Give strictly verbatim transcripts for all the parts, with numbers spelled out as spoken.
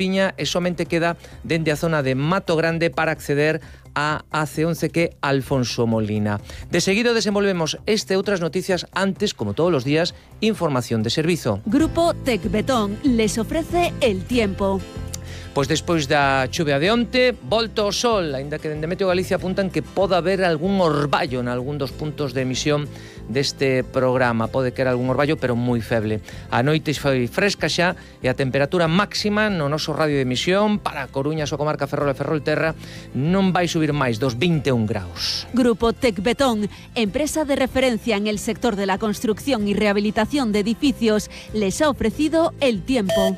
Piña e somente queda dende a zona de Mato Grande para acceder a A C once que Alfonso Molina. De seguido desenvolvemos este e outras noticias antes, como todos los días, información de servizo. Grupo Tecbetón les ofrece el tiempo. Pois despois da chuvia de onte, volta o sol, aínda que dende Meteo Galicia apuntan que pode haber algún orballo en algún dos puntos de emisión deste programa. Pode que era algún orballo, pero moi feble. A noite foi fresca xa e a temperatura máxima no noso radio de emisión para a Coruña, a súa comarca Ferrol e Ferrolterra non vai subir máis dos vinte e un graus. Grupo Tecbetón, empresa de referencia en el sector de la construcción y rehabilitación de edificios, les ha ofrecido el tiempo.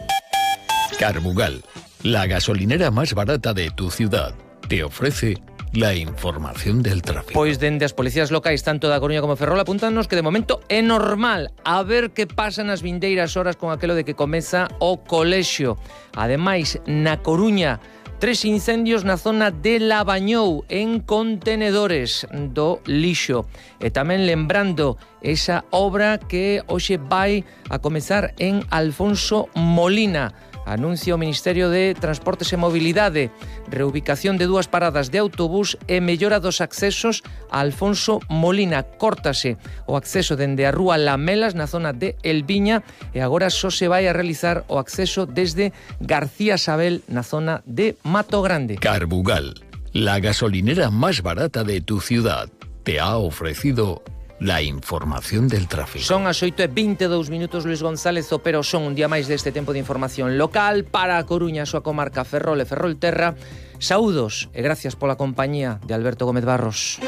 Carbugal, la gasolinera más barata de tu ciudad, te ofrece la información del tráfico. Pois dende as policías locais, tanto da Coruña como Ferrol, apuntannos que de momento é normal. A ver que pasa nas vindeiras horas con aquelo de que comeza o colexio. Ademais, na Coruña, tres incendios na zona de Labañou, en contenedores do lixo. E tamén lembrando esa obra que hoxe vai a comezar en Alfonso Molina. Anuncia o Ministerio de Transportes e Mobilidade, reubicación de dúas paradas de autobús e mellora dos accesos a Alfonso Molina. Córtase o acceso dende a rúa Lamelas na zona de Elviña e agora só se vai a realizar o acceso desde García Sabel na zona de Mato Grande. Carbugal, la gasolinera más barata de tu ciudad, te ha ofrecido la información del tráfico. Son as oito e vinte e dous minutos, Luis González Opero, son un día máis deste tempo de información local para a Coruña, a súa comarca Ferrol e Ferrolterra. Saúdos e gracias pola compañía de Alberto Gómez Barros.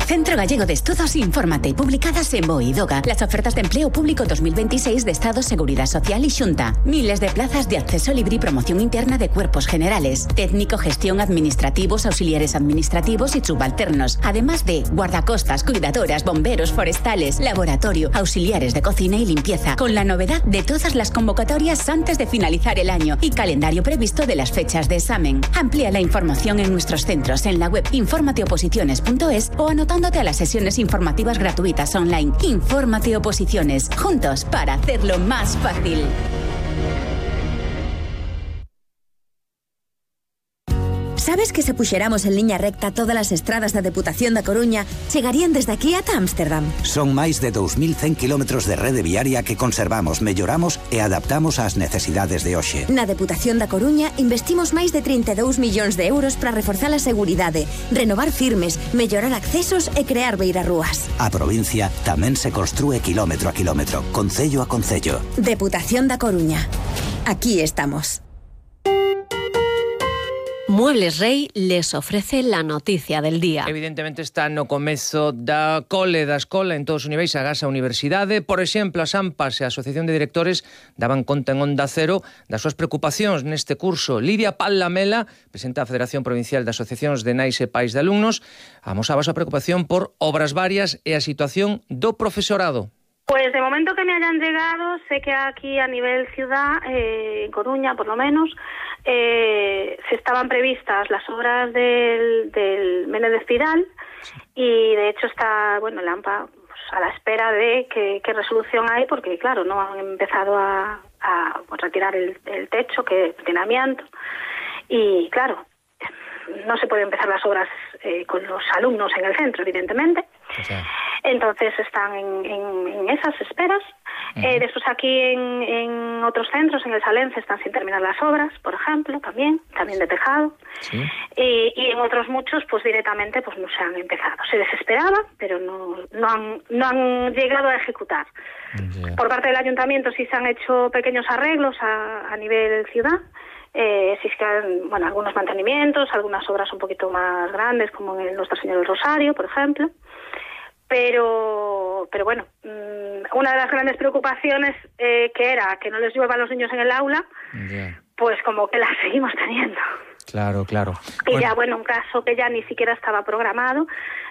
Centro Gallego de Estudos, infórmate, publicadas en Boidoga. Las ofertas de empleo público dos mil veintiséis de Estado, Seguridad Social y Xunta. Miles de plazas de acceso libre y promoción interna de cuerpos generales. Técnico, gestión, administrativos, auxiliares administrativos y subalternos. Además de guardacostas, cuidadoras, bomberos, forestales, laboratorio, auxiliares de cocina y limpieza. Con la novedad de todas las convocatorias antes de finalizar el año y calendario previsto de las fechas de examen. Amplía la información en nuestros centros en la web informateoposiciones punto es o anotando a las sesiones informativas gratuitas online. Infórmate Oposiciones, juntos para hacerlo más fácil. Sabes que se puxeramos en liña recta todas as estradas da Deputación da Coruña chegarían desde aquí ata Ámsterdam? Son máis de dous mil cen kilómetros de rede viaria que conservamos, melloramos e adaptamos ás necesidades de hoxe. Na Deputación da Coruña investimos máis de trinta e dous millóns de euros para reforzar a seguridade, renovar firmes, mellorar accesos e crear beirarrúas. A provincia tamén se construe kilómetro a kilómetro, concello a concello. Deputación da Coruña. Aquí estamos. Muebles Rey les ofrece la noticia del día. Evidentemente está no comezo da cole da escola en todos os niveis, agás a universidade. Por exemplo, as AMPAs e a Asociación de Directores daban conta en Onda Cero das súas preocupacións neste curso. Lidia Pallamela, presidenta da Federación Provincial de Asociacións de Nais e Pais de Alumnos, amosaba a súa preocupación por obras varias e a situación do profesorado. Pues de momento que me hayan llegado, sé que aquí a nivel ciudad, eh, en Coruña por lo menos, eh, se estaban previstas las obras del, del Menéndez Pidal y de hecho está, bueno, el AMPA pues, a la espera de qué resolución hay porque claro, no han empezado a, a pues, retirar el, el techo que tiene amianto y claro, no se pueden empezar las obras eh, con los alumnos en el centro, evidentemente. O sea. Entonces están en, en, en esas esperas. Uh-huh. Eh, después aquí en, en otros centros, en el Salense, están sin terminar las obras, por ejemplo, también, también de tejado. Sí. Y, y en otros muchos, pues directamente, pues no se han empezado. Se desesperaba, pero no, no, han, no han llegado a ejecutar. Yeah. Por parte del ayuntamiento sí se han hecho pequeños arreglos a, a nivel ciudad. Eh, si es que, bueno, algunos mantenimientos, algunas obras un poquito más grandes, como en el Nuestra Señora del Rosario, por ejemplo. Pero, pero bueno, una de las grandes preocupaciones eh, que era que no les llueva a los niños en el aula, yeah. pues como que la seguimos teniendo. Claro, claro. Y bueno. ya, bueno, un caso que ya ni siquiera estaba programado,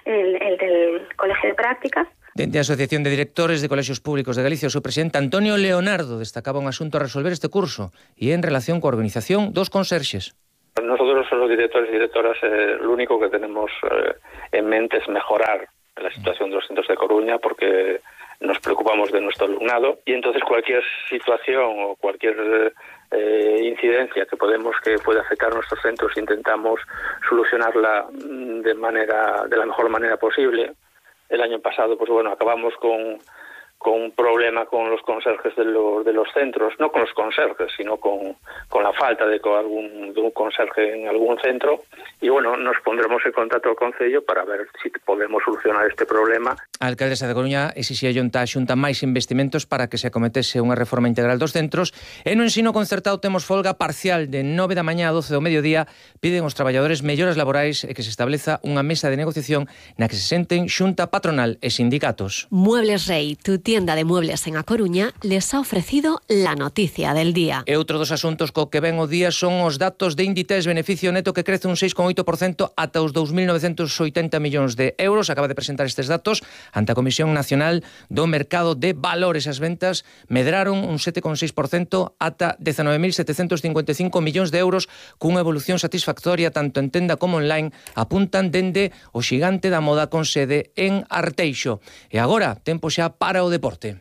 el, el del Colegio de Prácticas. Dende a Asociación de Directores de Colexios Públicos de Galicia, o seu presidente Antonio Leonardo destacaba un asunto a resolver este curso e en relación coa organización dos conserxes. Nosotros los directores y directoras eh, lo único que tenemos eh, en mente es mejorar la situación de los centros de Coruña, porque nos preocupamos de nuestro alumnado y entonces cualquier situación o cualquier eh, incidencia que podemos que pueda afectar a nuestros centros intentamos solucionarla de manera de la mejor manera posible. El año pasado, pues bueno, acabamos con con un problema con los conserjes de los, de los centros, no con los conserjes, sino con, con la falta de, algún, de un conserje en algún centro. Y bueno, nos pondremos en contacto con Concello para ver si podemos solucionar este problema. A alcaldesa de Coruña exixía Xunta a Xunta máis investimentos para que se acometese unha reforma integral dos centros, e no ensino concertado temos folga parcial de nove da mañá a doce do mediodía. Piden os traballadores melloras laborais e que se estableza unha mesa de negociación na que se senten Xunta patronal e sindicatos. Muebles Rey, tu tienda de muebles en A Coruña, les ha ofrecido la noticia del día. E outro dos asuntos co que ven o día son os datos de Inditex, beneficio neto que crece un seis coma oito por cento ata os dous mil novecentos oitenta millóns de euros. Acaba de presentar estes datos ante a Comisión Nacional do Mercado de Valores. As ventas medraron un sete coma seis por cento ata dezanove mil setecentos cincuenta e cinco millóns de euros, cunha evolución satisfactoria tanto en tenda como online, apuntan dende o xigante da moda con sede en Arteixo. E agora, tempo xa para o deporte.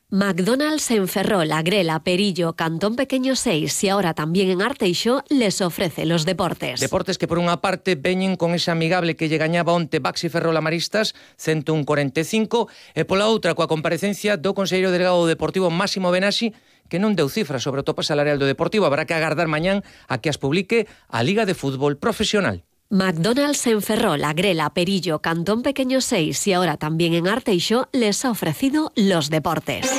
McDonald's en Ferrol, Agrela, Perillo, Cantón Pequeño seis y ahora también en Arteixo les ofrece los deportes. Deportes que por unha parte veñen con ese amigable que lle gañaba onte Baxi Ferrol a Maristas, ciento un cuarenta e cinco, e pola outra coa comparecencia do conselleiro delegado do Deportivo Máximo Benassi, que non deu cifras sobre o tope salarial do Deportivo. Habrá que agardar mañán a que as publique a Liga de Fútbol Profesional. McDonald's en Ferrol, Agrela, Perillo, Cantón Pequeño seis y ahora también en Arteixo les ha ofrecido los deportes.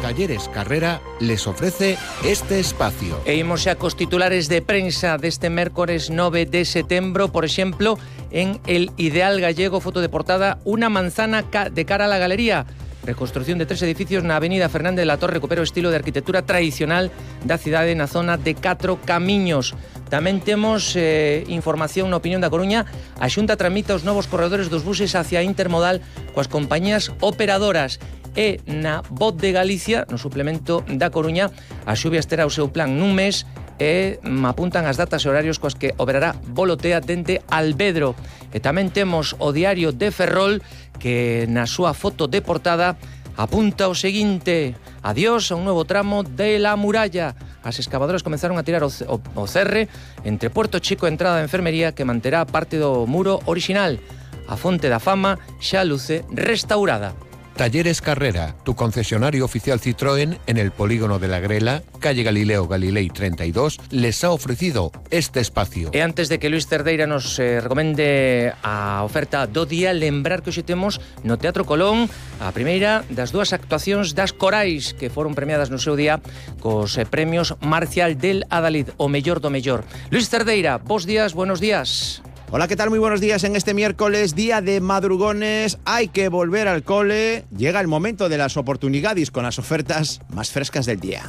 Talleres Carrera les ofrece este espacio. E imos xa cos titulares de prensa deste mércores nove de setembro. Por exemplo, en El Ideal Gallego, foto de portada, unha manzana de cara a la galería. Reconstrucción de tres edificios na avenida Fernández de la Torre recupera o estilo de arquitectura tradicional da cidade na zona de Catro Camiños. Tamén temos eh, información na opinión da Coruña. A Xunta tramita os novos corredores dos buses hacia Intermodal coas compañías operadoras. E na Voz de Galicia, no suplemento da Coruña, a Xubias terá o seu plan nun mes e apuntan as datas e horarios coas que operará Volotea dende Alvedro. E tamén temos o Diario de Ferrol, que na súa foto de portada apunta o seguinte: adiós a un novo tramo de la muralla. As excavadoras comenzaron a tirar o, o, o cerre entre Puerto Chico e entrada de enfermería que manterá parte do muro orixinal. A fonte da fama xa luce restaurada. Talleres Carrera, tu concesionario oficial Citroën en el polígono de la Grela, calle Galileo Galilei treinta y dos, les ha ofrecido este espacio. E antes de que Luis Cerdeira nos eh, recomende a oferta do día, lembrar que hoxe temos no Teatro Colón a primeira das dúas actuacións das corais que foron premiadas no seu día cos eh, premios Marcial del Adalid, o mellor do mellor. Luis Cerdeira, bos días, buenos días. Hola, ¿qué tal? Muy buenos días. En este miércoles, día de madrugones, hay que volver al cole. Llega el momento de las oportunidades con las ofertas más frescas del día.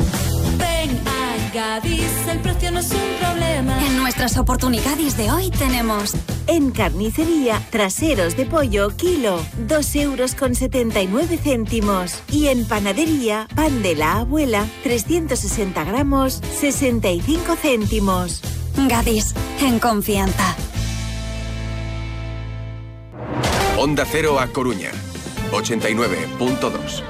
Ven a Gadis, el precio no es un problema. En nuestras oportunidades de hoy tenemos... En carnicería, traseros de pollo, kilo, dos euros con setenta y nueve céntimos. Y en panadería, pan de la abuela, trescientos sesenta gramos, sesenta y cinco céntimos. Gadis, en confianza. Onda Cero A Coruña, ochenta y nueve punto dos.